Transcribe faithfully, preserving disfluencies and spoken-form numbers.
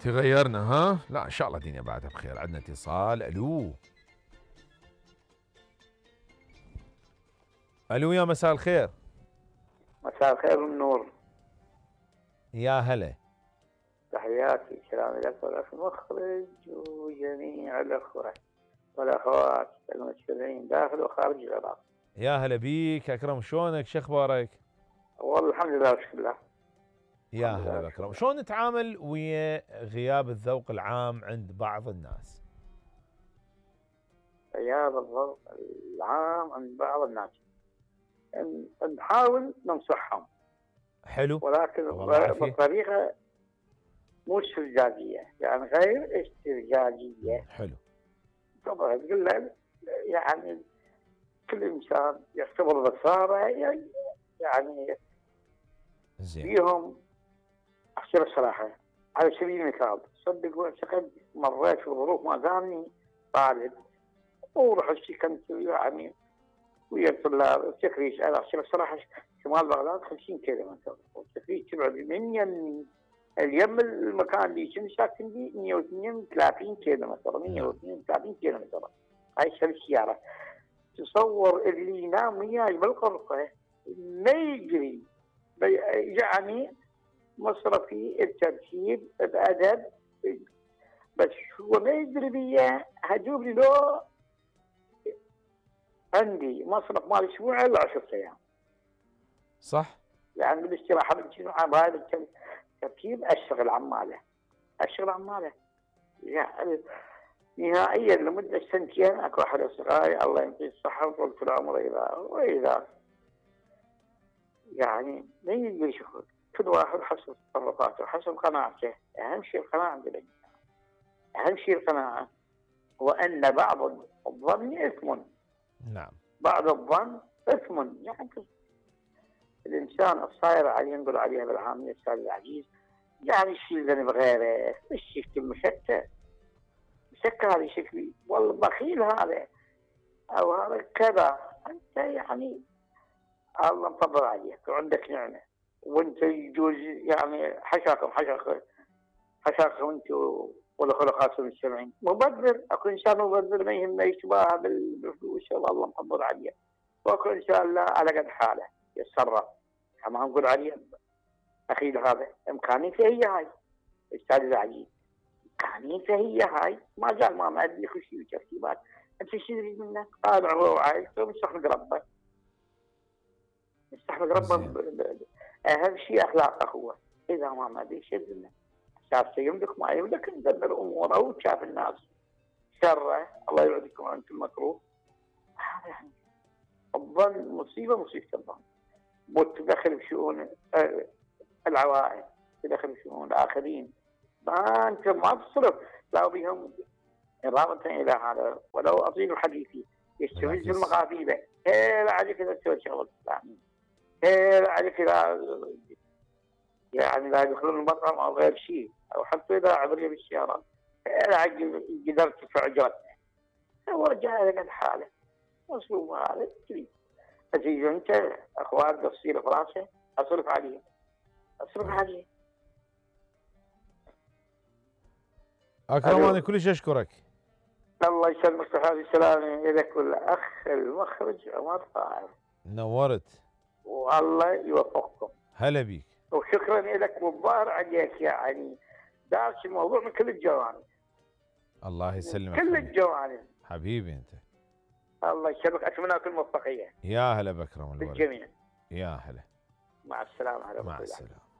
تغيرنا ها؟ لا ان شاء الله الدنيا بعدها بخير. عندنا اتصال. الو الو يا مساء الخير. مساء الخير والنور. يا هلا. تحياتي سلام لك ولك المخرج وجميع الاخوه والاخوات المستمعين داخل وخارج العراق. يا هلا بيك اكرم، شلونك؟ شو اخبارك؟ والله الحمد لله بشكر الله. يا هلا بكرم. شلون نتعامل ويا غياب الذوق العام عند بعض الناس؟ غياب الذوق العام عند بعض الناس نحاول ننصحهم. حلو. ولكن بطريقه مو استرجاجيه، يعني غير استرجاجيه. حلو. طبعا تقول له يعني كل انسان يعتبر بصاره يعني زين. فيهم احكي الصراحه على سبيل المثال، صدق واعتقد مريت في ظروف ما دامني طالب ورحت سكنت يعني ويا الطلاب التكريس. انا احكي الصراحه شمال بغداد خمسين كيلومتر، والتكريس تبعد من يم اليم المكان اللي كنت ساكن فيه مئة واثنين وثلاثين كيلومتر. مئة واثنين وثلاثين كيلومتر هاي السياره. تصور اللي ينام وياي بالغرفه ما يجري يعني مصرفي الترتيب بأدب، بس هو ما يدري بيا هجوب لي لو عندي مصرف مال اسبوع الا عشر ايام. صح. يعني بالاستراحه بالجمعه بهذا الترتيب اشتغل عماله اشتغل عماله يعني نهائيا لمده سنتين. اكو احد اصدقائي الله يعطيه الصحه وطولة العمر اذا واذا يعني ما يقدر شغل، كل واحد حسب تصرفاته حسب قناعته. اهم شيء القناعه عند الانسان، اهم شيء القناعه، وان بعض الظن اثم. نعم. بعض الظن اثم، يعني الانسان الصاير عليه نقول عليها بالعاميه استاذ العزيز يعني يشيل ذنب غيره، مش يشتم مشتت مشكل هذا شكلي والله بخيل هذا او هذا كذا. انت يعني الله مفضل عليك وعندك نعمه وانت يجوز يعني حشاكم حشاكم حشاكم انت والخلقات المستمعين. مبذر، اكو انسان مبذر ما يهمه يشبه بالفلوس الله مفضل عليه، واكو انسان لا على قد حاله يتصرف كما نقول عليه اخي هذا امكانيته هي هاي. استاذ العزيز امكانيته هي هاي، ما زال ما مادي خشي وترتيبات. انت شو تريد منك؟ طالع هو عايز مستحمل ربه مستحمل ربه. اهم شيء اخلاقه هو، اذا ما ما بيشد منه شاف يملك ما يملك ندبر اموره وشاف الناس شره الله يبعدكم عن كل مكروه. هذا يعني الظن مصيبه مصيبه الظن، وتدخل بشؤون العوائل تدخل بشؤون الاخرين. ما انت ما تصرف لا بهم اضافه الى هذا. ولو اطيل حديثي يستفز المغاربه هي عليك اذا تسوي شغل اسلامي، هي عليك اذا يعني لا يدخلون المطعم او غير شيء، او حتى اذا عبريه بالسياره هي قدرت تدفع اجرتنا. هو جاء لك الحاله مصروف هذا تريد تجي انت اخوات تصير فراسه اصرف عليه اصرف عليه. اكرم انا كلش اشكرك. الله يسلمك صحة السلامة لك والاخ المخرج عمر طاهر. نورت. والله يوفقكم. هلا بيك. وشكرا لك والظاهر عليك يعني دارس الموضوع من كل الجوانب. الله يسلمك. كل الجوانب. حبيبي انت. الله يسلمك، اتمنى لكم الموفقية. يا هلا بكرم بالجميع. يا هلا. مع السلامة. مع السلامة.